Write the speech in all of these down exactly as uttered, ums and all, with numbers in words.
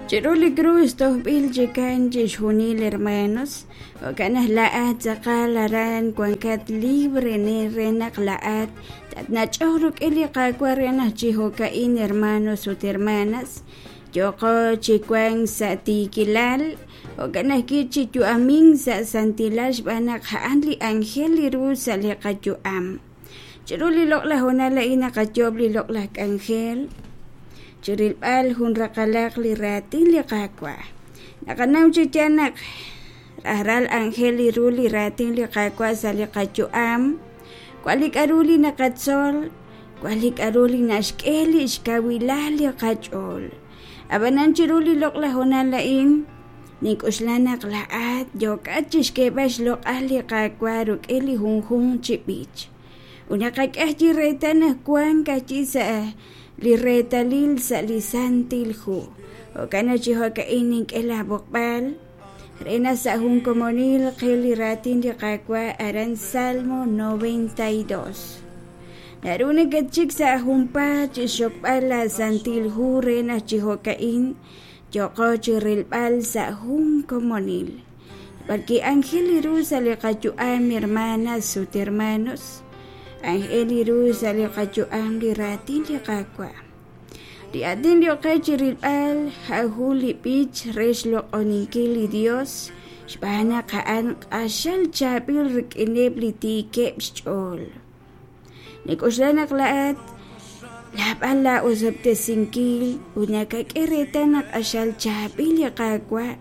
Chiru li krus tojb'il chikan chixjunil hermanos, jo'kan naq laa'at tz'aqal aran wankat libre ne re naq laa'at tatnach'oq rik'in li Qaawa' re naq chi jo'ka'in hermanos ut hermanas yooqo chi wank sa' tiikilal, jo'kan ajwi' chi yu'amink sa' santilal xb'aan naq a'an li anjel li ru sa' li qayu'am. Chiru li loq'laj hoonal a'in naqayoob' li loq'laj k'anjel chirilb'al jun raqalaq li raatin li Qaawa'. Naqanaw chi yaal naq rajlal anjel li ru li raatin li Qaawa' sa' li qayu'am, wan li k'a'ru li naqatzol, wan li k'a'ru li naxk'e li xkawilal li qach'ool. Ab'anan chiru li loq'laj hoonal a'in, nink'oxla naq laa'at yookat chixk'eeb'al xloq'al li Qaawa' rik'in li junjunq chi b'ich. Ut naqak'e ajwi' reetal naq wank ajwi' sa' li reetalil sa' li Santil Hu. Jo'kan naq chi jo'ka'in nink'e laab'oqb'al re naq sa' jun komonil qil li raatin li Qaawa' aran Salmo noventa y dos. Naru nakatxik sa' junpaat chi xxokb'al la Santil Hu re naq chi jo'ka'in yooqo chi rilb'al sa' jun komonil. B'arki anjel li ru sa' li qayu'am, hermanas ut hermanos, anjel li ru sa' li qayu'am li raatin li Qaawa'. Li aatin li oqe chi rilb'al ja'ju li b'ich re xloq'oninkil li Dios xb'aan naq a'an q'axal chaab'il rik'ineb' li tiikeb' xch'ool. Nik'oxla naq laa'at laab'al laa'osob'tesinkil ut nakak'e reetal naq q'axal chaab'il li Qaawa'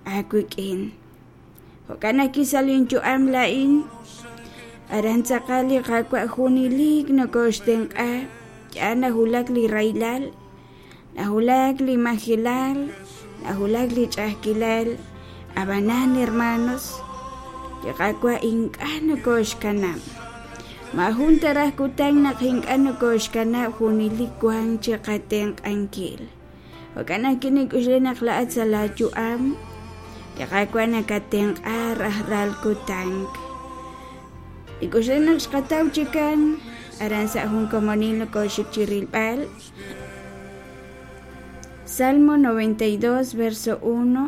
aawik'in. Jo'kan naq sa' linyu'am laa'in aran tz'aqal li Qaawa' junelik nokoxtenq'a, yaal najulak li rahilal, najulak li majilal, najulak li ch'a'ajkilal. Ab'anan hermanos, li Qaawa' ink'a' nokoxkanab'. Maajun taraj kutan naq ink'a' nokoxkanab' junelik wank chi qatenq'ankil. Jo'kan naq kinik'uxle naq laa'at sa' laayu'am, li Qaawa' nakatenq'a rajlal kutan. Nik'uxle naq xqataw chikan aran sa' jun komonil nokoxik chi rilb'al. Salmo noventa y dos, verso uno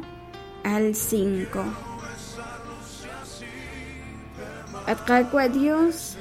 al cinco. At Qaawa' Dios,